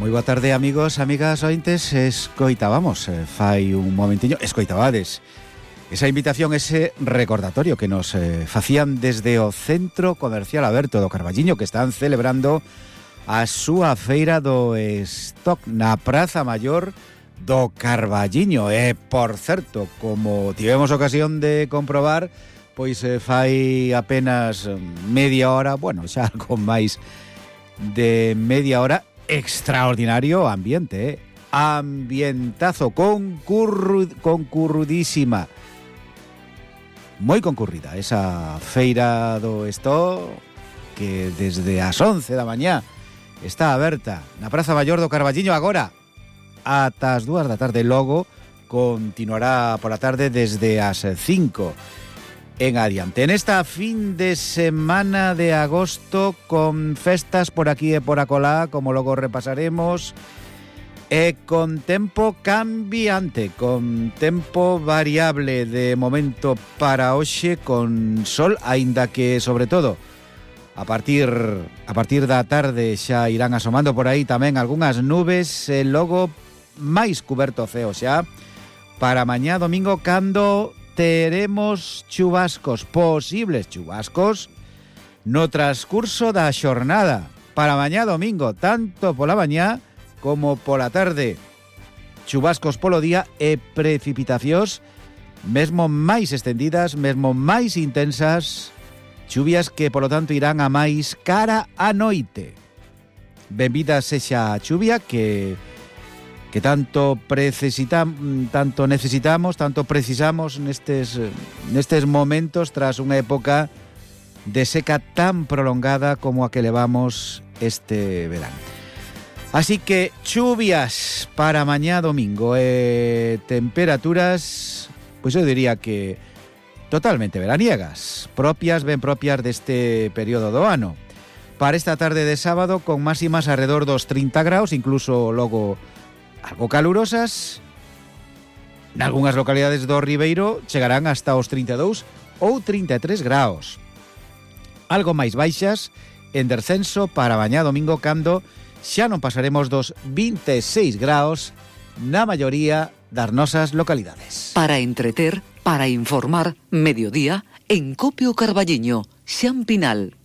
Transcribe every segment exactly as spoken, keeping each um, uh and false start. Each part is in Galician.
Moi boa tarde, amigos, amigas, ointes. Escoitábamos, eh, fai un momentiño, escoitabades esa invitación, ese recordatorio que nos eh, facían desde o Centro Comercial Aberto do Carballiño, que están celebrando a súa feira do stock na Praza Maior do Carballiño. E, por certo, como tivemos ocasión de comprobar, pois eh, fai apenas media hora, bueno, xa con máis de media hora, extraordinario ambiente, eh? Ambientazo, concurru, concurrudísima, moi concurrida esa feira do stock, que desde as once da mañá está aberta na Praza Maior do Carballiño agora ata as dúas da tarde. Logo continuará pola tarde desde as cinco en adiante. En esta fin de semana de agosto, con festas por aquí e por acolá, como logo repasaremos, e con tempo cambiante, con tempo variable de momento para hoxe, con sol, aínda que, sobre todo, a partir a partir da tarde xa irán asomando por aí tamén algunhas nubes, e logo máis cuberto o ceo xa para mañá domingo, cando teremos chubascos, posibles chubascos, no transcurso da xornada para mañá domingo, tanto pola mañá como pola tarde. Chubascos polo día e precipitacións mesmo máis extendidas, mesmo máis intensas, chuvias que, polo tanto, irán a máis cara a noite. Benvida sexa a chuvia que que tanto necesitam, tanto necesitamos, tanto precisamos nestes nestes momentos, tras unha época de seca tan prolongada como a que levamos este verán. Así que chuvias para mañá domingo e temperaturas, pois eu diría que totalmente veraniegas, propias, ben propias deste período do ano. Para esta tarde de sábado, con máximas alrededor dos trinta graus, incluso logo algo calurosas. Nalgúnas localidades do Ribeiro chegarán hasta os trinta e dous ou trinta e tres graus. Algo máis baixas en descenso para mañá domingo, cando xa non pasaremos dos vinte e seis graus na maioría das nosas localidades. Para entreter, para informar, mediodía en Copio Carballiño, Xan Pinal.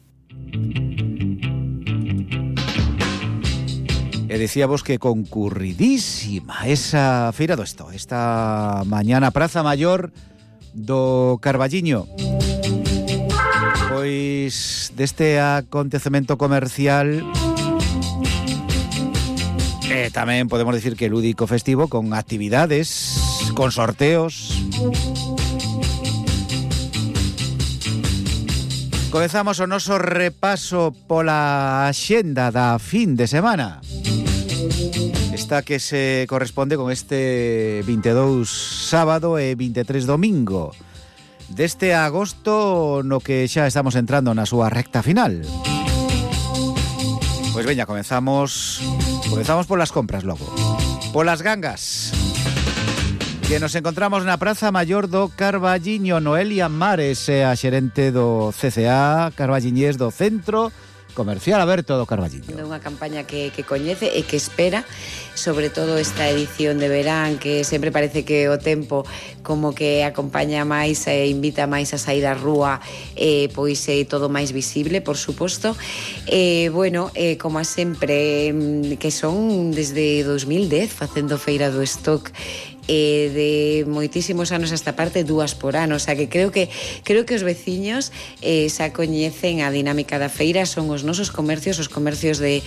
E decíamos que concurridísima esa feira do stock esta mañana, Praza Maior do Carballiño. Pois deste acontecemento comercial, e tamén podemos decir que lúdico festivo, con actividades, con sorteos. Comezamos o noso repaso pola axenda da fin de semana, esta que se corresponde con este vinte e dous sábado e vinte e tres domingo deste agosto, no que xa estamos entrando na súa recta final. Pois veña, comezamos comezamos polas compras logo, polas gangas, que nos encontramos na Praza Maior do Carballiño. Noelia Mares é a xerente do C C A Carballiñés, do Centro Comercial Aberto do Carballiño. É unha campaña que, que coñece e que espera, sobre todo esta edición de verán, que sempre parece que o tempo como que acompaña máis e invita máis a sair á rúa, eh, pois é eh, todo máis visible, por suposto. Eh, bueno, eh, como a sempre, que son desde dos mil dez facendo feira do stock, eh, de moitísimos anos esta parte, dúas por ano, o sea que creo que creo que os veciños eh, xa coñecen a dinámica da feira. Son os nosos comercios, os comercios de,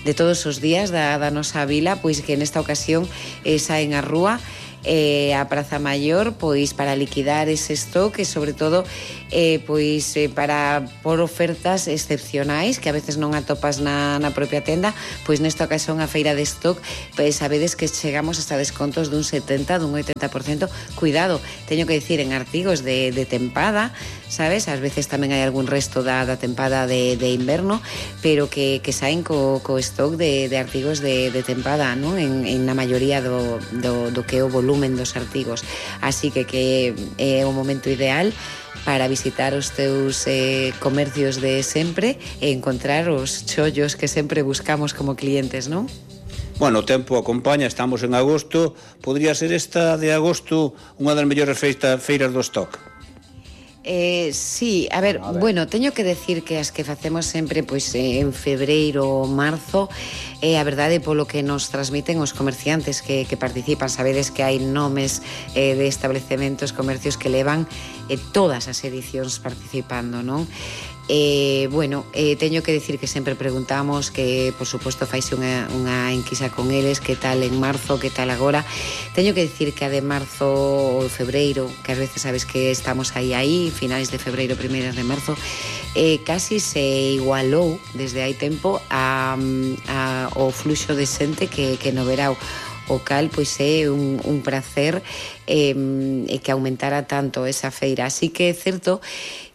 de todos os días da, da nosa vila, pois que nesta ocasión eh, saen á rúa, eh, a Praza Maior, pois para liquidar ese stock e sobre todo eh, pois eh, para por ofertas excepcionais que a veces non atopas na, na propia tenda. Pois nesta ocasión a feira de stock, pois sabedes que chegamos hasta descontos dun setenta, dun oitenta por cento. Cuidado, teño que dicir, en artigos de, de tempada, sabes, ás veces tamén hai algún resto da, da tempada de, de inverno, pero que, que saen co, co stock de, de artigos de, de tempada, non? En, en na maioría do, do, do que é o volumen dos artigos. Así que que é o momento ideal para visitar os teus eh, comercios de sempre e encontrar os chollos que sempre buscamos como clientes, non? Bueno, o tempo acompaña, estamos en agosto. Podría ser esta de agosto unha das mellores feita, feiras do stock? Eh, sí, a ver, a ver, bueno, teño que decir que as que facemos sempre pois eh, en febreiro ou marzo, eh, a verdade polo que nos transmiten os comerciantes que, que participan, sabedes que hai nomes eh, de establecementos, comercios que levan eh, todas as edicións participando, non? Eh, bueno, eh, teño que decir que sempre preguntamos, que por suposto faise unha, unha enquisa con eles, que tal en marzo, que tal agora. Teño que decir que a de marzo ou febreiro, que ás veces sabes que estamos aí aí, finais de febreiro, primeiras de marzo, eh, casi se igualou desde hai tempo a, a, o fluxo de xente que, que no verao. O cal, pois é un, un prazer eh, que aumentara tanto esa feira. Así que é certo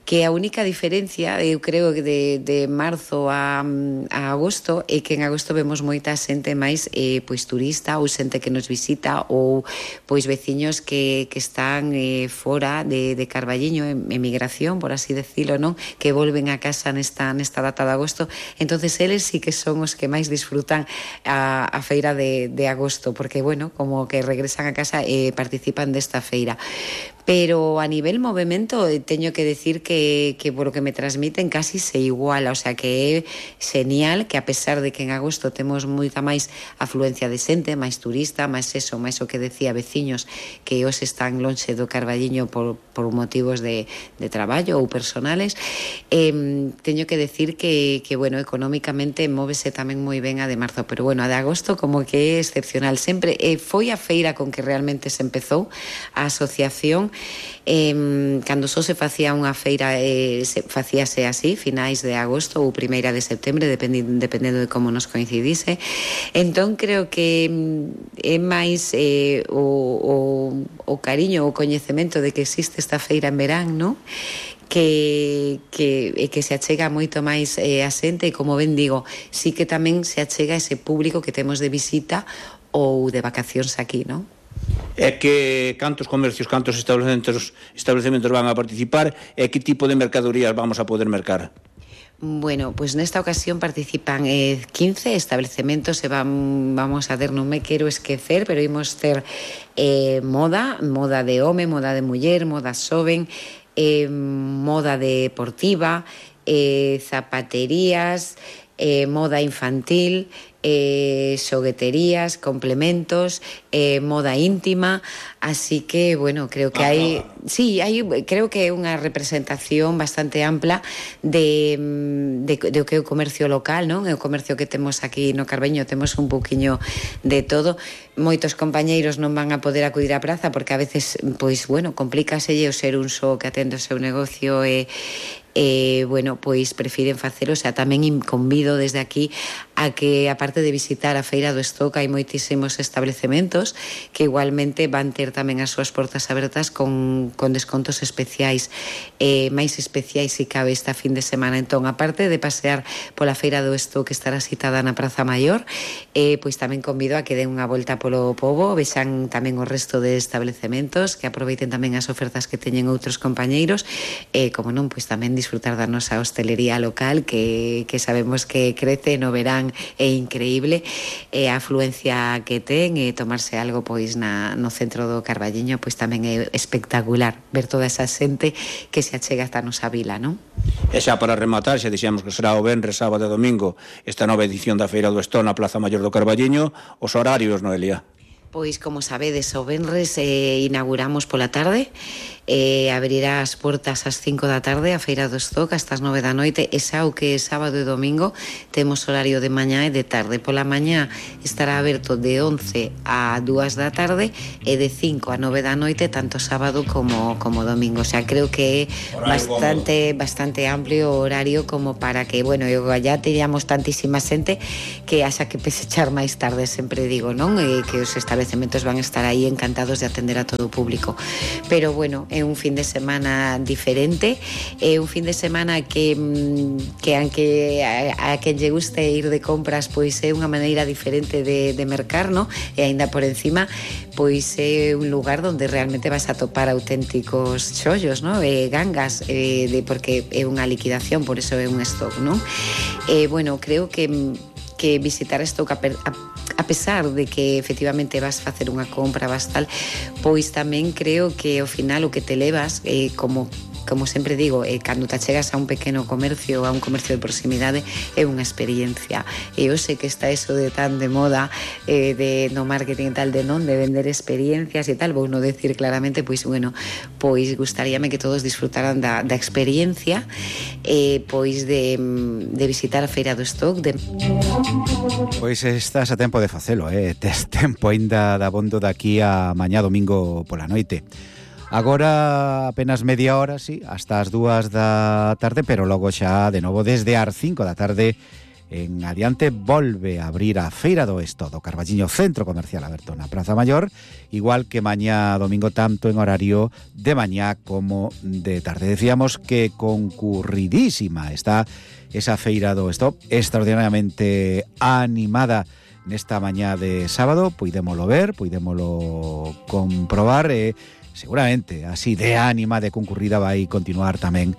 que a única diferencia, eu creo que de, de marzo a, a agosto, é que en agosto vemos moita xente máis eh, pois turista ou xente que nos visita ou pois veciños que, que están eh, fora de, de Carballiño, en emigración, por así decirlo, non? Que volven a casa nesta, nesta data de agosto. Entonces eles sí que son os que máis disfrutan a, a feira de, de agosto, porque, bueno, como que regresan a casa e eh, participan desta feira. Pero a nivel movimento teño que decir que, que por lo que me transmiten casi se iguala, o sea que é genial que a pesar de que en agosto temos moita máis afluencia de xente, máis turista, máis eso, máis o que decía veciños que os están lonxe do Carballiño por, por motivos de, de traballo ou personales, eh, teño que decir que, que bueno, económicamente móvese tamén moi ben a de marzo, pero bueno, a de agosto como que é excepcional sempre, eh, foi a feira con que realmente se empezou a asociación. Eh, cando só se facía unha feira eh, se, facíase así, finais de agosto ou primeira de setembro, dependendo, dependendo de como nos coincidise. Entón creo que é máis eh, o, o, o cariño, o coñecemento de que existe esta feira en verán, non? Que, que, que se achega moito máis eh, a xente e, como ben digo, sí que tamén se achega ese público que temos de visita ou de vacacións aquí, non? É que cantos comercios, cantos establecementos, establecementos van a participar e que tipo de mercadorías vamos a poder mercar? Bueno, pues nesta ocasión participan eh, quince establecementos e van, vamos a ver, non me quero esquecer, pero imos ter eh, moda, moda de home, moda de muller, moda xoven, eh, moda deportiva, eh, zapaterías, eh, moda infantil, eh, xogueterías, complementos, eh, moda íntima, así que, bueno, creo que hai, sí, hai, creo que é unha representación bastante ampla de, de, de o que é o comercio local, non? É o comercio que temos aquí no Carballiño, temos un pouquiño de todo. Moitos compañeiros non van a poder acudir á praza porque a veces, pois, bueno, complícaselle o ser un só que atende o seu negocio e eh, bueno, pois prefiren facelo, o sea, tamén convido desde aquí a que, aparte de visitar a Feira do Stock, hai moitísimos establecementos que igualmente van ter tamén as súas portas abertas con, con descontos especiais, eh, máis especiais se cabe esta fin de semana. Entón, aparte de pasear pola Feira do Stock que estará citada na Praza Maior, eh, pois tamén convido a que den unha volta polo pobo, vexan tamén o resto de establecementos, que aproveiten tamén as ofertas que teñen outros compañeiros, e, eh, como non, pois tamén disfrutar da nosa hostelería local que, que sabemos que crece no verán, é increíble, e a afluencia que ten, e tomarse algo pois na, no centro do Carballiño pois tamén é espectacular ver toda esa xente que se achega hasta a nosa vila, non? E xa para rematar, xa dixemos que será o venres, sábado e domingo esta nova edición da Feira do Stock na Plaza Maior do Carballiño. Os horarios, Noelia? Pois, como sabedes, o venres eh, inauguramos pola tarde, eh, abrirá as portas ás cinco da tarde a Feira do Stock hasta as nove da noite, e xa o que é sábado e domingo temos horario de mañá e de tarde. Pola mañá estará aberto de once a dúas da tarde e de cinco a nove da noite tanto sábado como, como domingo. O sea, creo que é bastante, bastante amplio o horario como para que, bueno, eu ya teníamos tantísima xente que haxa que pesechar máis tarde, sempre digo, non? E que os estabelecementos van a estar aí encantados de atender a todo o público. Pero, bueno, é un fin de semana diferente, é un fin de semana que, que aunque a, a quen lle guste ir de compras, pois é unha maneira diferente de, de mercar, no? E aínda por encima, pois é un lugar onde realmente vas a topar auténticos chollos, no? E gangas, eh, de, porque é unha liquidación, por eso é un stock, non? Eh, bueno, creo que que visitar Stock a, a, a pesar de que efectivamente vas facer unha compra, vas tal, pois tamén creo que ao final o que te levas, eh, como como sempre digo, eh, cando te chegas a un pequeno comercio, a un comercio de proximidade, é unha experiencia. E eu sei que está eso de tan de moda, eh, de no marketing e tal, de non, de vender experiencias e tal, vou non decir claramente, pois, bueno, pois gustaríame que todos disfrutaran da, da experiencia, eh, pois de, de visitar a Feira do Stock. De... Pois estás a tempo de facelo, eh? Tes tempo ainda da bondo daqui a mañá domingo pola noite. Agora apenas media hora, sí, hasta as dúas da tarde, pero logo xa de novo desde as cinco da tarde en adiante volve a abrir a Feira do Esto do Carballiño, centro comercial aberto na Praza Maior, igual que mañá domingo, tanto en horario de mañá como de tarde. Decíamos que concurridísima está esa Feira do Esto, extraordinariamente animada nesta mañá de sábado, puidémolo ver, puidémolo comprobar, e eh, seguramente así de ánima, de concurrida vai continuar tamén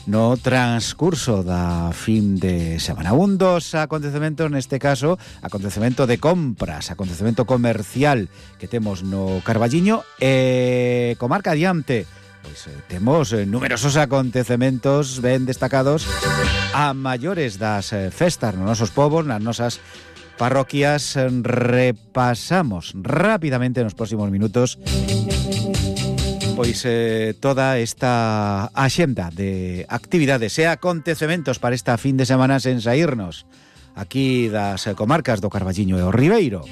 no transcurso da fin de semana. Un dos acontecementos, neste caso, acontecemento de compras, acontecemento comercial que temos no Carballiño e comarca adiante. Pois eh, temos eh, numerosos acontecementos ben destacados a maiores das eh, festas nos nosos povos, nas nosas parroquias. Repasamos rápidamente nos próximos minutos pois eh, toda esta axenda de actividades e acontecementos para esta fin de semana sen saírnos aquí das comarcas do Carballiño e o Ribeiro.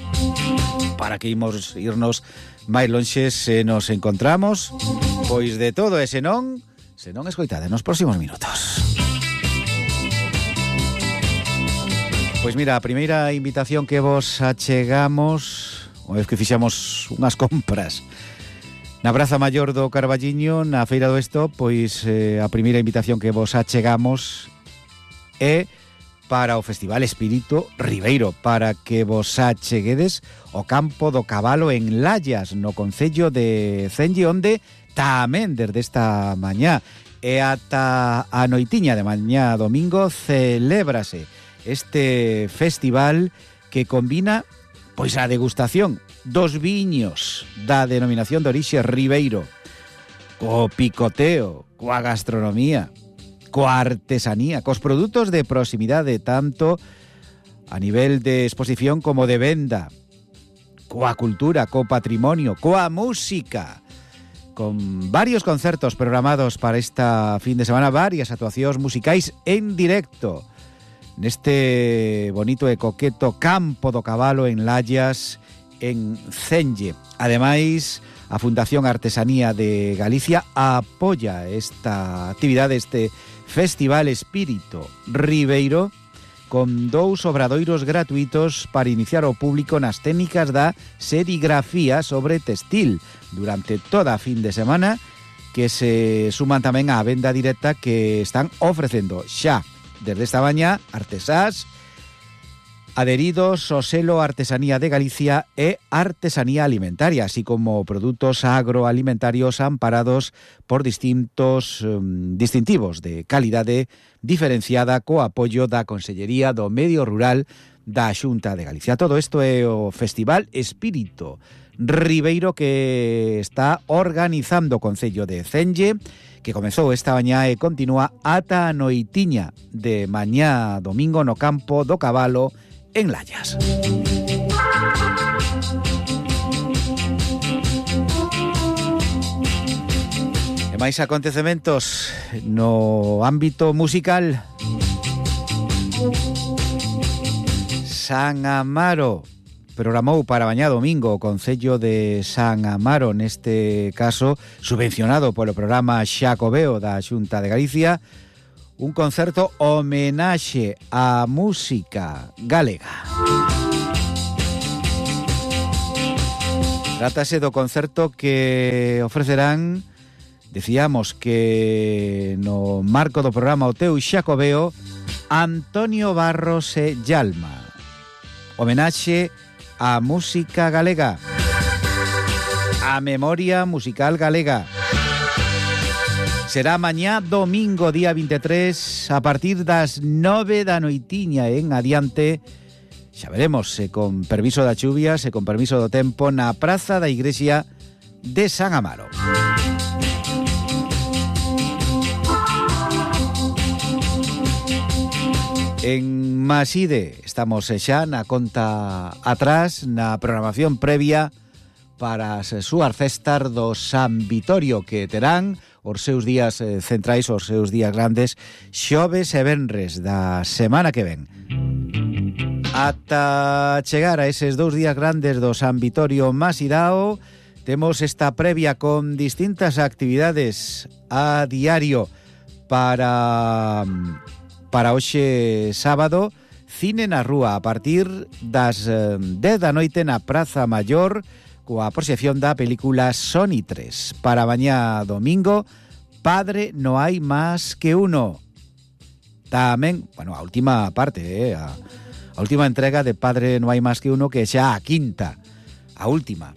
Para que imos irnos máis lonxe, se nos encontramos pois de todo ese non, se non escoitade nos próximos minutos. Pois mira, a primeira invitación que vos achegamos, unha vez que fixamos unhas compras na Praza Maior do Carballiño, na Feira do Esto, pois eh, a primeira invitación que vos achegamos é para o Festival Espírito Ribeiro, para que vos acheguedes o Campo do Cabalo en Lallas, no concello de Cenlle, onde tamén desde esta mañá e ata a noitiña de mañá domingo celébrase este festival que combina pois a degustación dos viños da denominación de orixe Ribeiro, co picoteo, coa gastronomía, coa artesanía, cos produtos de proximidade, tanto a nivel de exposición como de venda, coa cultura, co patrimonio, coa música, con varios concertos programados para esta fin de semana, varias actuacións musicais en directo neste bonito e coqueto Campo do Cabalo en Lallas, en Cenlle. Ademais, a Fundación Artesanía de Galicia apoia esta actividade, este Festival Espírito Ribeiro, con dous obradoiros gratuitos para iniciar o público nas técnicas da serigrafía sobre textil durante toda a fin de semana, que se suman tamén á venda directa que están ofrecendo xa desde esta mañá artesás adheridos ao selo Artesanía de Galicia e Artesanía Alimentaria, así como produtos agroalimentarios amparados por distintos um, distintivos de calidade diferenciada co apoio da Consellería do Medio Rural da Xunta de Galicia. Todo isto é o Festival Espírito Ribeiro que está organizando o Concello de Cenlle, que comezou esta mañá e continúa ata a noitiña de mañá domingo no Campo do Cabalo en Lallas. E máis acontecementos no ámbito musical. San Amaro programou para mañá domingo o Concello de San Amaro, neste caso subvencionado polo programa Xacobeo da Xunta de Galicia, un concerto homenaxe á música galega. Trátase do concerto que ofrecerán, decíamos que no marco do programa O Teu Xacobeo, Antonio Barros e Yalma. Homenaxe á música galega, á memoria musical galega. Será mañá domingo, día vinte e tres, a partir das nove da noitiña en adiante, xa veremos se con permiso da chuvia, se con permiso do tempo, na praza da igrexa de San Amaro. En Maside estamos xa na conta atrás, na programación previa para as súas festas do San Vitorio, que terán os seus días centrais, os seus días grandes, xoves e venres da semana que ven. Ata chegar a eses dous días grandes do San Vitorio Masidao, temos esta previa con distintas actividades a diario para para hoxe sábado. Cine na rúa a partir das dez da noite na Praza Maior, coa proxección da película Sony tres. Para mañá domingo, Padre no hai más que uno. Tamén, bueno, a última parte, eh, a, a última entrega de Padre no hai más que uno, que xa a quinta, a última.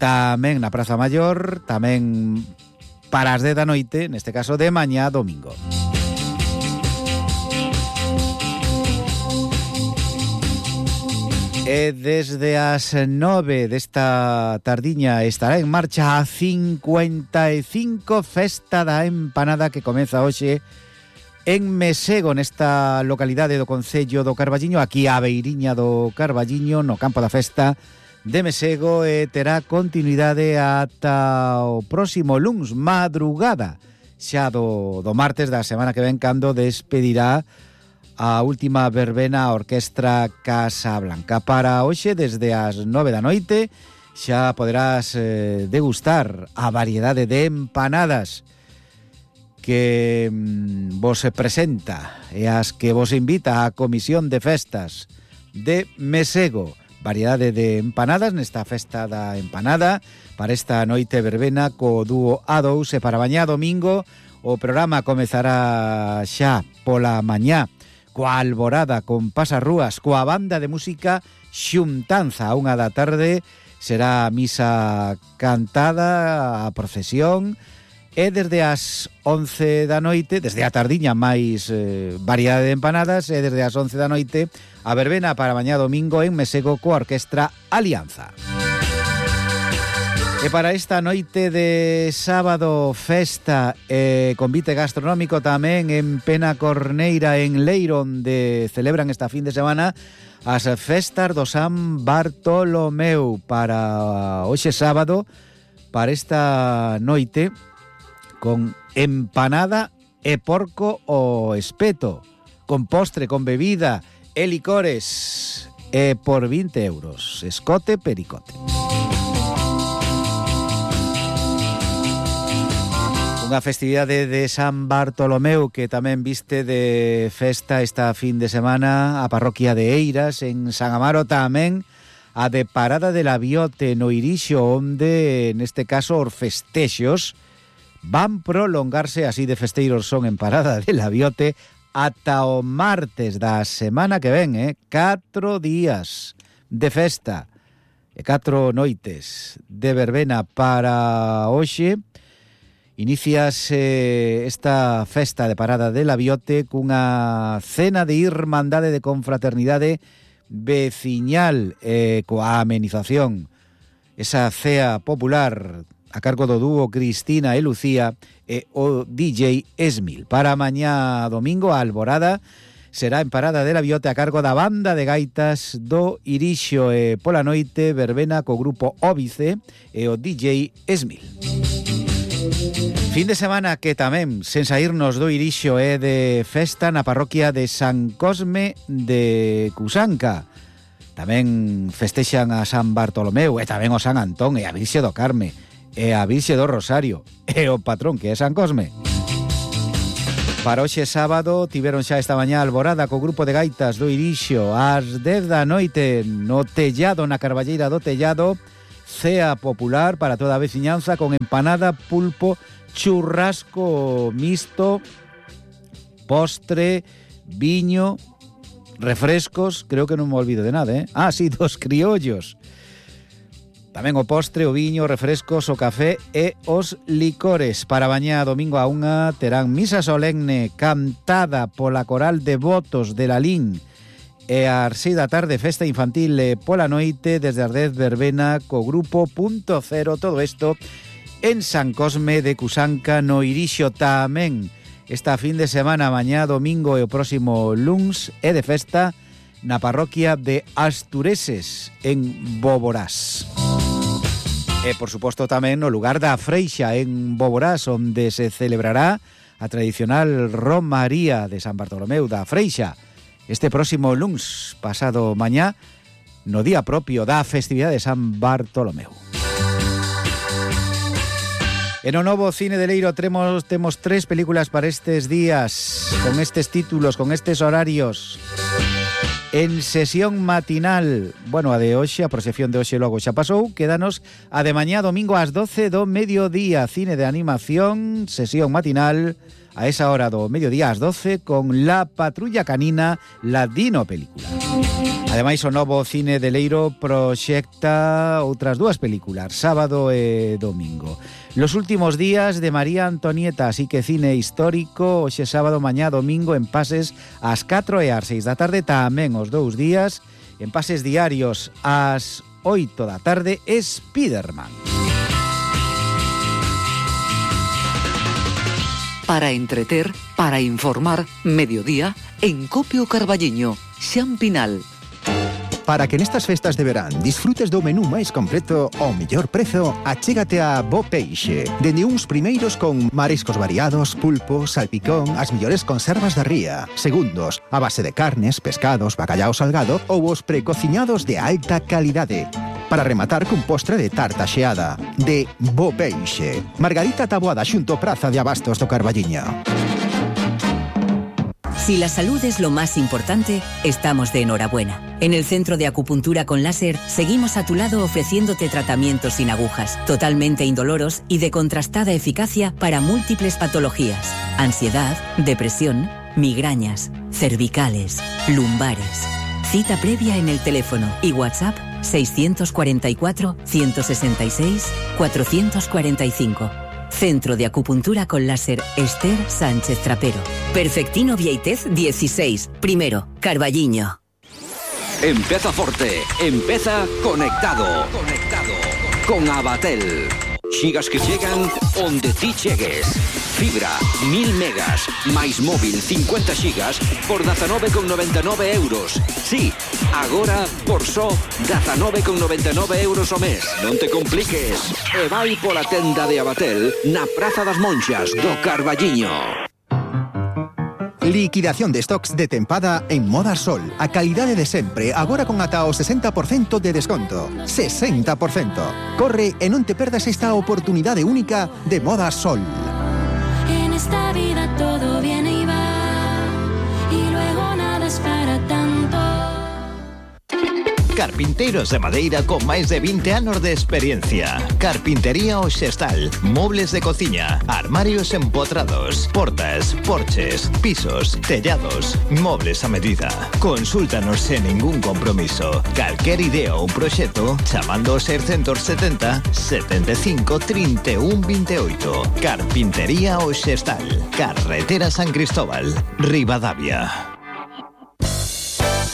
Tamén na Praza Maior, tamén para as dez da noite, neste caso de mañá domingo. E desde as nove desta tardiña estará en marcha a cincuenta e cinco Festa da Empanada, que comeza hoxe en Mesego, nesta localidade do concello do Carballiño, aquí á beiriña do Carballiño, no campo da festa de Mesego, e terá continuidade ata o próximo luns, madrugada xa do, do martes da semana que ven, cando despedirá a última verbena a Orquestra Casablanca. Para hoxe, desde as nove da noite, xa poderás eh, degustar a variedade de empanadas que mm, vos presenta e as que vos invita a Comisión de Festas de Mesego. Variedade de empanadas nesta Festa da Empanada para esta noite verbena co dúo A dous, e para mañá domingo o programa comezará xa pola mañá coa alborada con pasarrúas, coa banda de música Xuntanza. A unha da tarde será misa cantada, a procesión, e desde as once da noite, desde a tardiña máis eh, variedade de empanadas, e desde as once da noite a verbena para mañá domingo en Mesego coa Orquestra Alianza. E para esta noite de sábado, festa e convite gastronómico tamén en Penacorneira, en Leiro, onde celebran esta fin de semana as festas do San Bartolomeu. Para hoxe sábado, para esta noite, con empanada e porco o espeto, con postre, con bebida e licores, e por vinte euros, escote pericote. Unha festividade de San Bartolomeu que tamén viste de festa esta fin de semana a parroquia de Eiras, en San Amaro, tamén a de Parada de la Biote no Irixo, onde neste caso os festexos van prolongarse, así de festeiros son en Parada de la Biote, ata o martes da semana que ven, eh? Catro días de festa e catro noites de verbena. Para hoxe iníciase esta festa de Parada de la Biote cunha cena de irmandade, de confraternidade veciñal, e coa amenización, esa cea popular a cargo do dúo Cristina e Lucía e o D J Esmil. Para mañá domingo a alborada será en Parada de la Biote a cargo da banda de gaitas do Irixo, e pola noite verbena co grupo Óbice e o D J Esmil. Fin de semana que tamén, sen saírnos do Irixo, é de festa na parroquia de San Cosme de Cusanca. Tamén festexan a San Bartolomeu e tamén o San Antón e a Virxe do Carme e a Virxe do Rosario e o patrón, que é San Cosme. Para hoxe sábado tiveron xa esta mañá alborada co grupo de gaitas do Irixo ás dez da noite no Tellado, na Carballeira do Tellado, cea popular para toda a veciñanza con empanada, pulpo, churrasco mixto, postre, viño, refrescos, creo que non me olvido de nada, eh? Ah, sí, dos criollos. Tamén o postre, o viño, refrescos, o café e os licores. Para mañá domingo a unha terán misa solemne cantada pola coral de votos de Lalín e ás seis da tarde festa infantil e pola noite desde as dez verbena co grupo Punto Cero, todo isto en San Cosme de Cusanca no Irixo. Tamén esta fin de semana, mañá domingo e o próximo luns é de festa na parroquia de Astureses en Boborás. E, por suposto, tamén no lugar da Freixa, en Boborás, onde se celebrará a tradicional Romaría de San Bartolomeu da Freixa este próximo luns, pasado mañá, no día propio da festividade de San Bartolomeu. En o novo Cine de Leiro temos, temos tres películas para estes días, con estes títulos, con estes horarios. En sesión matinal, bueno, a de hoxe, a proxección de hoxe logo xa pasou, quédanos a de mañá domingo ás doce do mediodía, cine de animación, sesión matinal, a esa hora do mediodía ás doce, con La Patrulla Canina, la Dino película. Ademais, o novo Cine de Leiro proxecta outras dúas películas, sábado e domingo. Los últimos días de María Antonieta, así que cine histórico, hoxe sábado, mañá domingo, en pases ás catro e ás seis da tarde, tamén os dous días, en pases diarios ás oito da tarde, Spiderman. Para entreter, para informar, mediodía, en Copio Carballiño, Xan Pinal. Para que nestas festas de verán disfrutes do menú máis completo ao mellor prezo, achégate a Bo Peixe. Dende uns primeiros con mariscos variados, pulpo, salpicón, as mellores conservas da ría. Segundos, a base de carnes, pescados, bacallao salgado ou os precociñados de alta calidade. Para rematar cun postre de tarta xeada. De Bo Peixe. Margarita Taboada xunto Praza de Abastos do Carballiño. Si la salud es lo más importante, estamos de enhorabuena. En el Centro de Acupuntura con Láser seguimos a tu lado ofreciéndote tratamientos sin agujas, totalmente indoloros y de contrastada eficacia para múltiples patologías: ansiedad, depresión, migrañas, cervicales, lumbares. Cita previa en el teléfono y WhatsApp seiscientos cuarenta y cuatro, ciento sesenta y seis, cuatrocientos cuarenta y cinco. Centro de Acupuntura con Láser Esther Sánchez Trapero. Perfectino Vieitez dieciséis, primero, Carballiño. Empeza forte, empeza conectado. Conectado con Abatel. Xigas que chegan onde ti chegues. Fibra, mil megas, máis móvil cincuenta xigas por dezanove con noventa e nove euros. Sí, agora por só dezanove con noventa e nove euros o mes. Non te compliques. E vai pola tenda de Abatel na Praza das Monxas do Carballiño. Liquidación de stocks de tempada en Moda Sol. A calidade de sempre, agora con ata o sesenta por cento de desconto. sesenta por cento. Corre e non te perdas esta oportunidade única de Moda Sol. En esta vida todo viene y va, y luego nada es para tanto. Carpinteiros de madeira con máis de vinte anos de experiencia. Carpintería O Xestal. Mobles de cociña, armarios empotrados, portas, porches, pisos, tellados, mobles a medida. Consúltanos sen ningún compromiso. Calquer idea ou proxecto chamando ao seiscentos setenta, setenta e cinco, trinta e un, vinte e oito. Carpintería O Xestal. Carretera San Cristóbal, Ribadavia.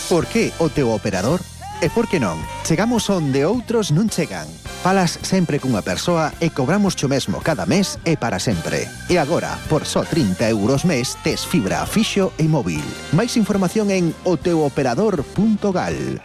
Por que o teu operador? E por que non? Chegamos onde outros non chegan. Falas sempre cunha persoa e cobramos cho mesmo cada mes e para sempre. E agora, por só trinta euros mes, tes fibra fixo e móvil. Máis información en o teu operador punto gal.